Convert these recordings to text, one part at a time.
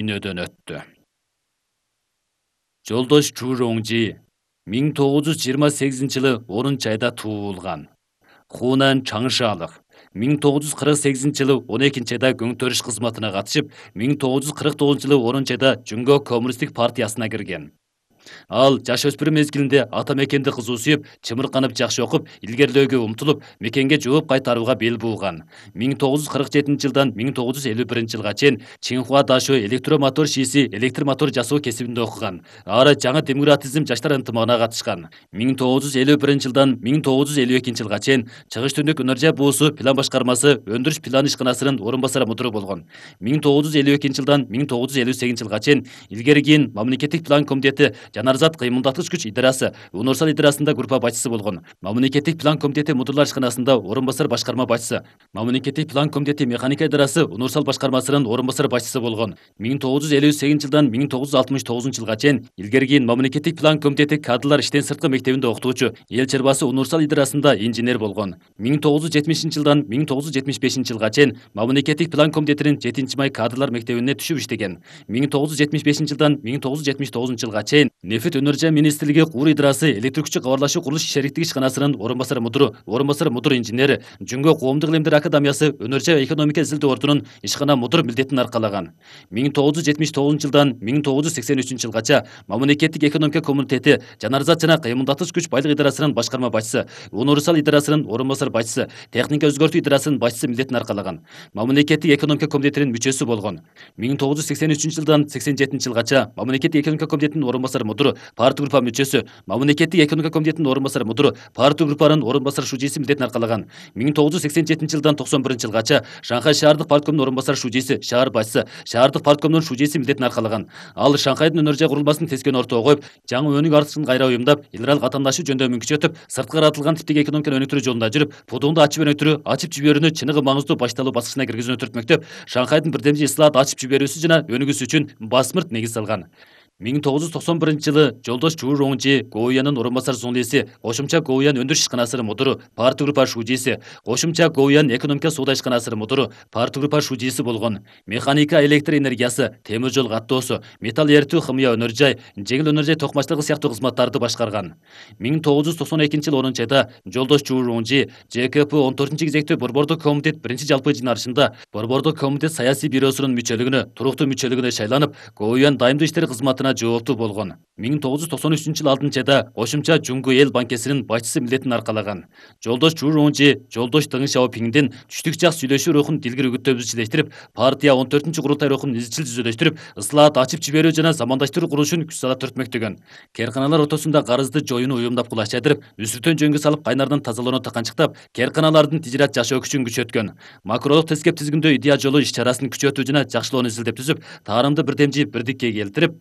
дүйнөдөн өттү. Жолдош Чжуроңжи 1928-жылы 10-айда туулган. Хунан Чаңшалык 1948-жылы 12-айда көңтөрүш кызматына катышып, 1949-жылы 10-айда Жүнгө коммунисттик партиясына кирген. Ал жаш өспүрүм мезгилинде ата мекенди кызуу сүйүп, чымырканып жакшы окуп, илгерлөөгө умтулуп, мекенге жооп кайтарууга бел бууган. 1947-жылдан 1951-жылга чейин Чинхуа Дашо электромотор шииси электр мотор жасоо кесибинде окуган. Ары жаңы демократизм жаштар ынтымагына катышкан. 1951-жылдан 1952-жылга чейин Чыгыш Түндүк Өнөр жай буусу план башкармасы өндүрүш план ишканасынын орун басары мудуру болгон. 1952-жылдан 1958-жылга чейин илгери кийин мамлекеттик план комитети Жанарзат кыймылдаткыч күч идарасы Унурсал идарасында группа башчысы болгон. Мамлекеттик план комитети мудурлар ишканасында орун басар башкарма башчысы. Мамлекеттик план комитети механика идарасы Унурсал башкармасынын орун басар башчысы болгон. 1958-жылдан 1969-жылга чейин илгери кийин мамлекеттик план комитети кадрлар иштен сырткы мектебинде окутуучу, эл чарбасы Унурсал идарасында инженер болгон. 1970-жылдан 1975-жылга чейин мамлекеттик план комитетинин 7-май кадрлар мектебине түшүп иштеген. 1975-жылдан 1979-жылга чейин Нефит өнөр жай министрлиги Куур идарасы электр күчү кабарлашуу курулуш шериктик ишканасынын орун басар мудуру инженери, Жүнгө коомдук илимдер академиясы өнөр жай экономика изилдөө ордунун ишкана мудур милдетин аркалаган. 1979-жылдан 1983-жылгача мамлекеттик экономика комитети Жанарзат жана кыймылдаткыч күч байлык идарасынын башкарма башчысы, Унурсал идарасынын орун басар башчысы, техника өзгөртүү идарасынын башчысы милдетин аркалаган. Мамлекеттик экономика комитетинин мүчөсү болгон. 1983-жылдан 87-жылгача мамлекеттик экономика комитетинин орун басар мудуру, партия группа мүчөсү, мамлекеттик экономика комитетинин орун басар мудуру, партия группанын орун басар шужиси милдетин аркалаган. 1987-жылдан 91-жылгача Шанхай шаардык парткомунун орун басар шужиси, шаар башчысы, шаардык парткомунун шужиси милдетин аркалаган. Ал Шанхайдын өнөр жай курулмасын тескөөнү ортого коюп, жаңы өнүк артышын кайра уюмдап, эл аралык атаандашуу жөндөмүн күчөтүп, сырткы каратылган типтеги экономиканы өнүктүрүү жолунда жүрүп, пудуңду ачып жиберүүнү чыныгы маңыздуу башталуу баскычына киргизүүнү түртмөктөп, Шанхайдын бирдемчи ислаат ачып жиберүүсү жана өнүгүүсү үчүн басмырт негиз салган. 1991-жылы Жолдош Чжуроңжи Гоуянын орун басар зондеси, кошумча Гоуян өндүрүш ишканасынын мудуру, партия группа шужиси, кошумча Гоуян экономика соода ишканасынын мудуру, партия группа шужиси болгон. Механика, электр энергиясы, темир жол каттоосу, металл эритүү, химия өнөр жай, жеңил өнөр жай токмачтыгы сыяктуу кызматтарды башкарган. 1992-жылы 10-айда Жолдош Чжуроңжи ЖКП 14-кезектүү Борбордук комитет 1-жалпы жыйналышында Борбордук комитет саясий бюросунун мүчөлүгүнө, туруктуу мүчөлүгүнө шайланып, Гоуян дайымдуу иштер кызматына жооптуу болгон. 1993-жылы 6-айда кошумча Жүнгө эл банкесинин башчысы милдетин аркалаган. Жолдош Чжуроңжи Жолдош Дeng Шаопиңдин түштүк жак сүйлөшүү рухун дилгир үгүттөбүздү чилештирип, партия 14-курултай рухун изчил түзөлөштүрүп, ыслаат ачып жиберүү жана замандаштыруу курулушун күч сала түртмөктөгөн. Керканалар ортосунда карызды жоюуну уюмдап кулаш жайдырып, үстүртөн жөнгө салып кайнардан тазалоону таканчыктап, керканалардын тижират жашоо күчүн күчөткөн. Макролук тескеп тизгиндөө идея жолу иш чарасын күчөтүү жана жакшылоону изилдеп түзүп, таарымды бирдемчи бирдикке келтирип,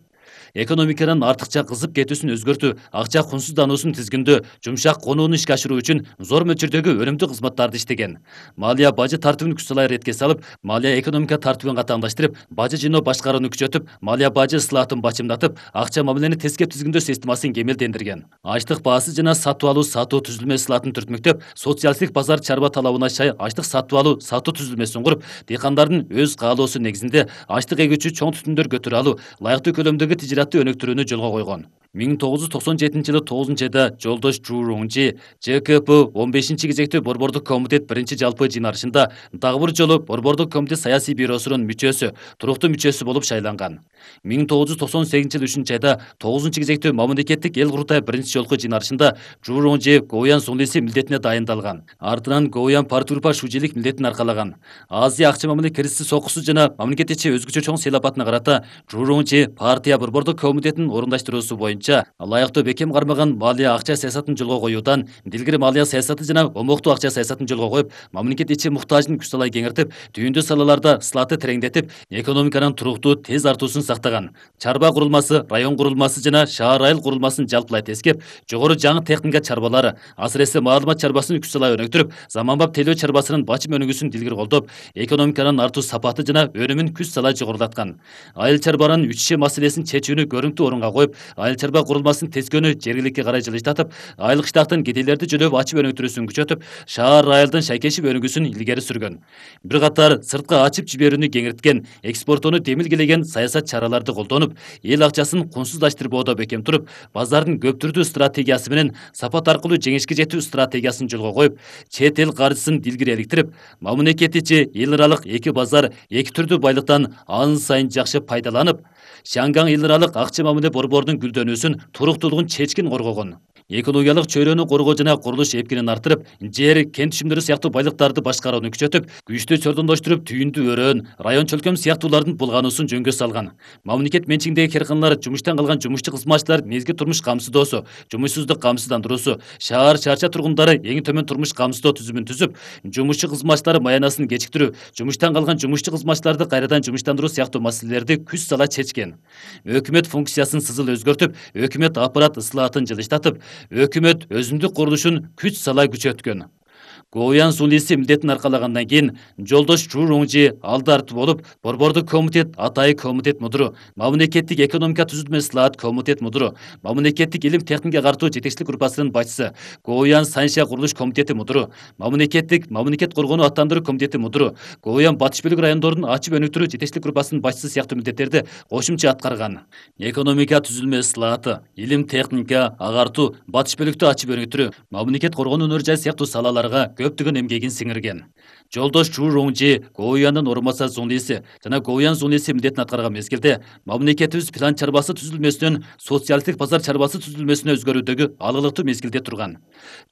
экономиканын артыкча кызып кетүүсүн өзгөртүү, акча кунсуздануусун тизгиндөө, жумшак конууну ишке ашыруу үчүн зор мөлчөрдөгү өнүмдүү кызматтарды иштеген. Малия бажы тартибин күч салай иретке салып, малия экономика тартибин катааңдаштырып, бажы жыйноо башкарууну күчөтүп, малия бажы ыслаатын бачымдатып, акча мамилени тескеп тизгиндөө системасын кемелдендирген. Ачлык баасы жана сатып алуу сатуу түзүлмө ыслаатын түртмөктөп, социалисттик базар чарба талабына шай ачлык сатып алуу сатуу түзүлмөсүн куруп, дыйкандардын өз каалоосу негизинде ачлык эгүүчү чоң түтүндөр көтөрө алуу, ылайыктуу көлөмдөгү тижиратты өнүктүрүүнү жолго койгон. 1997-жылы 9-айда Жолдош Чжуроңжи ЖКП 15-кезектүү Борбордук комитет 1-жалпы жыйналышында дагы бир жолу Борбордук комитет саясий бюросунун мүчөсү, туруктуу мүчөсү болуп шайланган. 1998-жылы 3-айда 9-кезектүү мамлекеттик эл курултай 1-жолку жыйналышында Чжуроңжи Гоуян зондеси милдетине дайындалган. Артынан Гоуян партия группа шужилик милдетин аркалаган. Азия акча мамиле киризиси сокусу жана мамлекет ичи өзгөчө чоң сыйлапатына карата Чжуроңжи партия Борбордук комитетинин орундаштыруусу боюнча ылайыктуу бекем кармаган малия акча саясатын жолго коюудан дилгир малия саясаты жана омоктуу акча саясатын жолго коюп, мамлекет ичи муктажын күч салай кеңиртип, түйүндүү салаларда ысылаатты тереңдетип, экономиканын туруктуу, тез артуусун сактаган. Чарба курулмасы, район курулмасы жана шаар айыл курулмасын жалпылай тескеп, жогору жаңы техника чарбалары, асыресе маалымат чарбасын күч салай өнүктүрүп, заманбап тейлөө чарбасынын бачым өнүгүүсүн дилгир колдоп, экономиканын артуу сапаты жана өнүмүн күч салай жогорулаткан. Айыл чарбанын үчүшө маселесин чечүүнү көрүнүктүү орунга коюп, айыл чарба курулмасын тескөөнү жергиликке карай жылыштатып, айлык штаттын кедейлерди жөлөп ачып өнүктүрүүсүн күчөтүп, шаар айылдын шайкешип өнүгүүсүн илгери сүргөн. Бир катар сыртка ачып жиберүүнү кеңирткен, экспортоону демилгелеген саясат чараларды колдонуп, эл акчасын кунсуздаштырбоодо бекем туруп, базардын көп түрдүү стратегиясы менен сапат аркылуу жеңишке жетүү стратегиясын жолго коюп, чет эл каржысын дилгире иликтирип, мамлекет ичи эл аралык эки базар, эки түрдүү байлыктан ан сайын жакшы пайдаланып, Шанган эл аралык акча мамиле борборунун гүлдөнүүсүн, туруктуулугун чечкин коргогон. Экологиялык чөйрөнү коргоо жана курулуш эпкинин артырып, жер, кен түшүмдөрү сыяктуу байлыктарды башкарууну күчөтүп, күчтүү чордондоштуруп, түйүндү өрөөн, район чөлкөм сыяктуулардын булгануусун жөнгө салган. Мамлекет менчигиндеги карканалар, жумуштан калган жумушчу кызматчылар мезгил турмуш камсыздоосу, жумушсуздук камсыздандыруусу, шаар чарча тургундары эң төмөн турмуш камсыздоо түзүмүн түзүп, жумушчу кызматчылары маянасын кечиктирүү, жумуштан калган жумушчу кызматчыларды кайрадан жумуштандыруу сыяктуу маселелерди күч сала чечкен. Өкмөт функциясын сызыл өзгөртүп, өкмөт аппарат ыслаатын жылыштатып, өкмөт өзүндүк курулушун күч сала күчөткөн. Гоуян Сунлиси милдетин аркалагандан кийин Жолдош Чуруңжи алды арты болуп, борбордук комитет атайы комитет мудуру, мамлекеттик экономика түзүлмө ислаат комитет мудуру, мамлекеттик илим техникага картуу жетекчилик группасынын башчысы, Гоуян Санша курулуш комитети мудуру, мамлекет коргонуу аттандыруу комитети мудуру, Гоуян батыш бөлүк райондордун ачып өнүктүрүү жетекчилик группасынын башчысы сыяктуу милдеттерди кошумча аткарган. Экономика түзүлмө ислааты, илим техника агартуу, батыш бөлүктү ачып өнүктүрүү, мамлекет коргонуу өнөр жай сыяктуу салаларга көптөгөн эмгегин сиңирген. Жолдош Чуруңжи, Гоуяндын орун басары Зунлиси жана Гоуян Зунлиси милдетин аткарган мезгилде мамлекетибиз план чарбасы түзүлмөсүнөн социалисттик базар чарбасы түзүлмөсүнө өзгөрүүдөгү алгылыктуу мезгилде турган.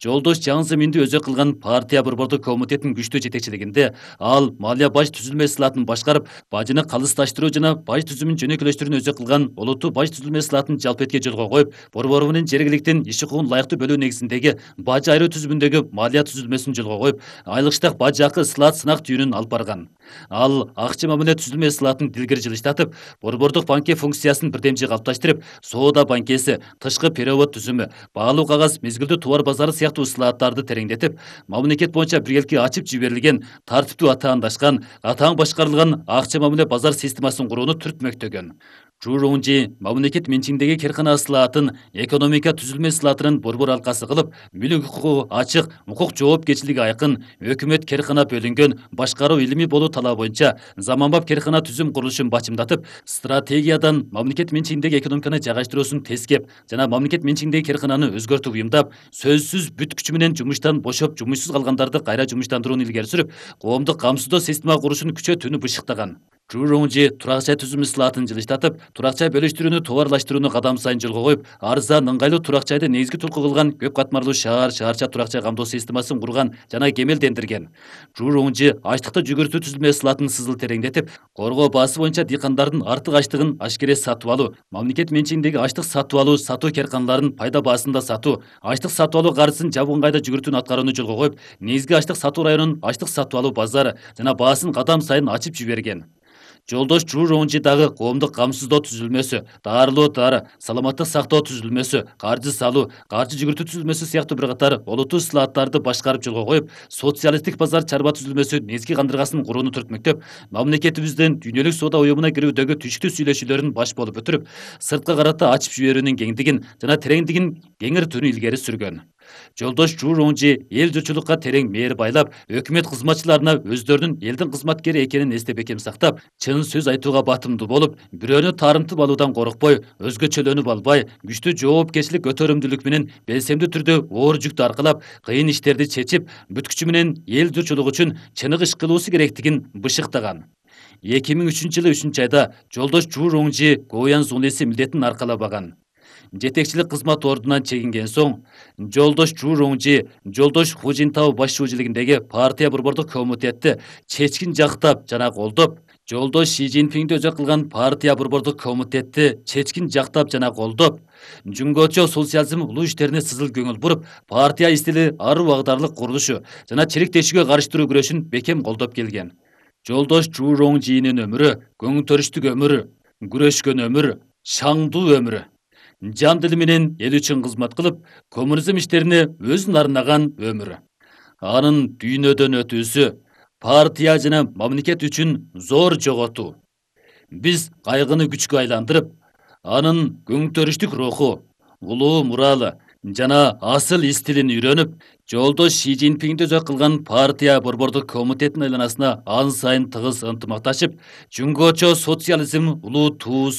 Жолдош Чаң Зыминди өзөк кылган партия борбордук комитетинин күчтүү жетекчилигинде ал малия баж түзүлмө ислаатын башкарып, бажыны калысташтыруу жана баж түзүмүн жөнөкөйлөштүрүүнү өзөк кылган олуттуу баж түзүлмө ислаатын жалпы этке жолго коюп, борбору менен жергиликтин иш укугун лайыктуу бөлүү негизиндеги баж айыруу түзүмүндөгү малия түзүлмөсүн жолго коюп, айлык штат баж акы ислаат сынак түйүнүн алып барган. Ал акча мамиле түзүлмө ислаатын дилгири жылыштатып, борбордук банке функциясын бирдемчи калыпташтырып, соода банкеси, тышкы перевод түзүмү, баалуу кагаз, мезгилдүү товар базары сыяктуу ислааттарды тереңдетип, мамлекет боюнча биргеликке ачып жиберилген, тартиптүү атаандашкан, атаң башкарылган акча мамиле базар системасын курууну түртмөктөгөн. Чуруңжи мамлекет менчигиндеги каркана ислаатын экономика түзүлмө ислаатынын борбор алкасы кылып, мүлк укугу ачык, укук жоопкерчилиги айкын, өкмөт каркана бөлүнгөн, башкаруу илимий болуу талабы боюнча заманбап каркана түзүм курулушун бачымдатып, стратегиядан мамлекет менчигиндеги экономиканы жайгаштыруусун тескеп жана мамлекет менчигиндеги каркананы өзгөртүп уюмдап, сөзсүз бүт күчү менен жумуштан бошоп, жумушсуз калгандарды кайра жумуштандырууну илгери сүрүп, коомдук камсыздоо система курушун күчөтүүнү бышыктаган. Чуруңжи турак жай түзүм ислаатын жылыштатып, турак жай бөлүштүрүүнү товарлаштырууну кадам сайын жолго коюп, арзан, ыңгайлуу турак жайды негизги туртку кылган көп катмарлуу шаар, шаарча турак жай камдоо системасын курган жана кемелдендирген. Чуруңжи ачлыкты жүгүртүү түзүлмө ислаатын сызыл тереңдетип, коргоо баасы боюнча дыйкандардын артык ачлыгын ашкере сатып алуу, мамлекет менчигиндеги ачлык сатып алуу, сатуу карканаларын пайда баасында сатуу, ачлык сатып алуу каржысын жабык ыңгайда жүгүртүүнү аткарууну жолго коюп, негизги ачлык сатуу районун ачлык сатып алуу базары жана баасын кадам сайын ачып жиберген. Жолдош Чуруңжи дагы коомдук камсыздоо түзүлмөсү, дарылоо дары, саламаттык сактоо түзүлмөсү, каржы салуу, каржы жүгүртүү түзүлмөсү сыяктуу бир катар олуттуу ислааттарды башкарып жолго коюп, социалисттик базар чарба түзүлмөсү негизги кандыргасын курууну түртмөктөп, мамлекетибиздин дүйнөлүк соода уюмуна кирүүдөгү түштүк сүйлөшүүлөрүн баш болуп өтүрүп, сыртка карата ачып жиберүүнүн кеңдигин жана тереңдигин кеңиртүүнү илгери сүргөн. Жолдош Чуруңжи эл журтчулукка терең мээр байлап, өкмөт кызматчыларына өздөрүнүн элдин кызматкери экенин эсте бекем сактап, чын сөз айтууга батымдуу болуп, бирөөнү таарынтып алуудан коркпой, өзгөчөлөнүп албай, күчтүү жоопкерчилик көтөрүмдүүлүк менен белсемдүү түрдө оор жүктү аркалап, кыйын иштерди чечип, бүт күчү менен эл журтчулугу үчүн чыныгы иш кылуусу керектигин бышыктаган. 2003-жылы 3-айда Жолдош Чуруңжи Гоуян Зунлиси милдетин аркалабаган. Жетекчилик кызмат ордунан чегинген соң, Жолдош Чуруңжи Жолдош Хужинтау башчылыгындагы партия борбордук комитетти чечкин жактап жана колдоп, Жолдош Ши Цзиньпинди өзөк кылган партия борбордук комитетти чечкин жактап жана колдоп, Жунгочо социализм улуу иштерине сызыл көңүл буруп, партия истили аруу агдарлык курулушу жана чирик тешүүгө каршы күрөшүн бекем колдоп келген. Жолдош Чуруңжинин өмүрү көң төрүштүк өмүр, күрөшкөн өмүр, шаңдуу өмүр. Жан дили менен эл үчүн кызмат кылып, коммунизм иштерине өзүн арнаган өмүр. Анын дүйнөдөн өтүүсү партия жана мамлекет үчүн зор жоготуу. Биз кайгыны күчкө айландырып, анын көң төрүштүк руху, улуу муралы жана асыл из тилин үйрөнүп, жолдош Ши Цзиньпинди өзөк кылган партия борбордук комитетинин айланасына ан сайын тыгыз ынтымакташып, Жөнгочо социализм улуу туусу